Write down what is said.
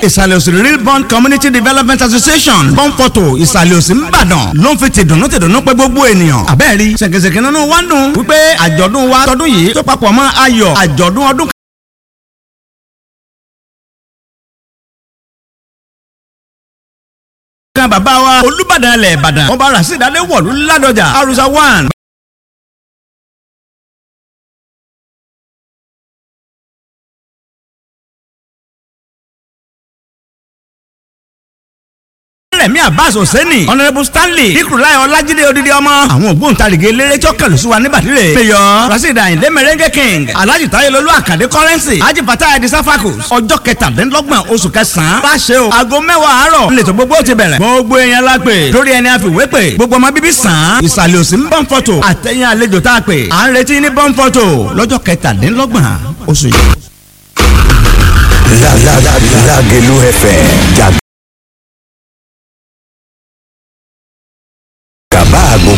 Ìsàlẹ̀ Òsì Real Bond Community Development Association, Bọ́ǹpọ̀tò, Ìsàlẹ̀ Òsì, Ńbàdàn, ló ń fi tìdùnnú tìdùnnú pé gbogbo ènìyàn. Àbẹ́ẹ̀rí ṣèkèṣèkè nínú wa ń dùn wípé àjọ̀dún wa tọdún yìí tó papọ̀ mọ́ ayọ̀ àjọ̀dún ọdún kan bàbá wa Olúbàdàn ilẹ̀ Ìbàdàn, Ọba Rasheed Adéwọ̀lú Ládọjà Arusa 1. Rẹ̀mí Abbas Hosseini, Honourable Stanley Ikurulai Ọlájídé Odidi ọmọ. Àwọn ògbóǹtarìgì eléré tí ó kẹlù sí wa ní bàdìrẹ. Mayor Rasheed Ayinde Merengue King, Alhaji Tayelolu Akande Currency, Haji Fatai Adisa Fakus. Ọjọ́ 27 oṣù kẹsàn-án. Bá ṣe o, aago 10 àárọ̀. Nílẹ̀ tó gbogbo ti bẹ̀rẹ̀. Gbogbo èèyàn la pè. Lórí ẹni àfiwé pè. Gbogbo ọmọ bíbí sàn án. Ìsàlẹ̀ Òsì ń Bọ́ǹfọ̀tò. Àtẹ̀yìn àlejò tá a pè. À ń retí ní Bọ́ǹfọ̀tò lọ́jọ́ 27 oṣù yìí. Lágelú FM.